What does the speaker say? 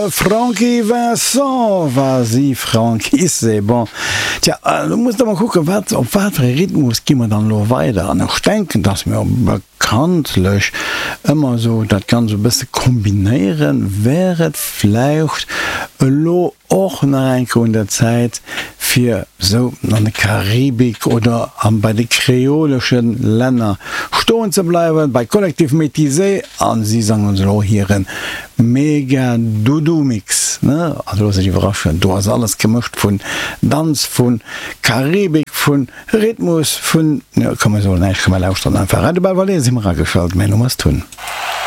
De Francky Vincent, Vas-y Francky, c'est bon. Tja, elo muss der mol kucken, wat, op wat fir e Rhythmus gi mer dann elo weider? An ech denken, dass mir bekanntlech ëmmer esou dat Ganzt e bësse kombinéieren. Wär et vläicht elo och nach eng Kéier un der Zäit, fir sou an der Karibik oder bei de kreolesche Länner stoen ze bleiwen, bei Collectif Métisé, a si sangen ons elo hire Mega Doudou Mix, ne? Also loosst iech iwwerraschen, do ass alles gemëscht, vun Danz, vu Karibik, vu Rhythmus, vun, jo komm mir soen näischt, komm mir lauschteren einfach. Radio Belval, si mer ageschalt, mäin Numm ass Tun.